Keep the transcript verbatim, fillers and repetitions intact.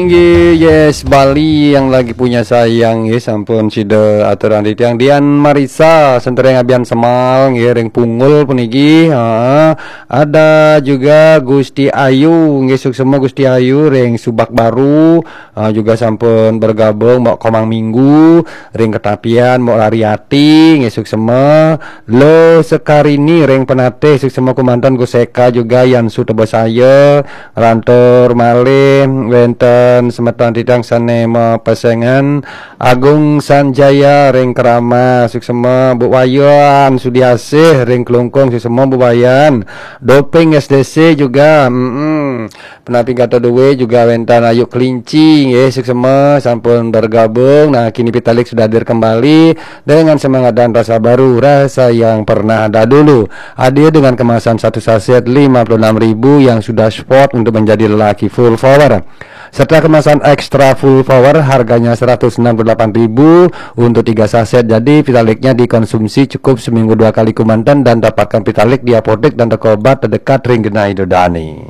Inggih, yes, Bali yang lagi punya sayang, nggih, sampun sida aturang titiang. Dian Marisa, sentereng Abian Semal, nggih, ring Pungul puniki. Ha, ada juga Gusti Ayu, nggih, suksema Gusti Ayu ring Subak Baru, ha, juga sampun bergabung, Mbok Komang Minggu, ring Ketapian, Mbok Rariati, nggih, suksema. Lo Sekarini ring Penatih, suksema kumanten Gus Eka juga, Yan Sutebasaya, lantur malih wenten semeton titiang sane mapesengan, Agung Sanjaya ring Keramas, suksema Bu Wayan, Sudiasih ring Klungkung, suksema Bu Wayan, Doping S D C juga, mm-mm. Penapi kata dua juga wenten Ayu Kelinci, nggih, suksema sampun bergabung. Nah, kini Pitalik sudah hadir kembali dengan semangat dan rasa baru, rasa yang pernah ada dulu. Hadir dengan kemasan satu saset lima puluh enam ribu yang sudah spot untuk menjadi lelaki full power. Serta kemasan extra full power harganya seratus enam puluh delapan ribu untuk tiga saset. Jadi Pitaliknya dikonsumsi cukup seminggu dua kali kumanten dan dapatkan Pitalik di apotek dan toko obat terdekat ring genah ida dane.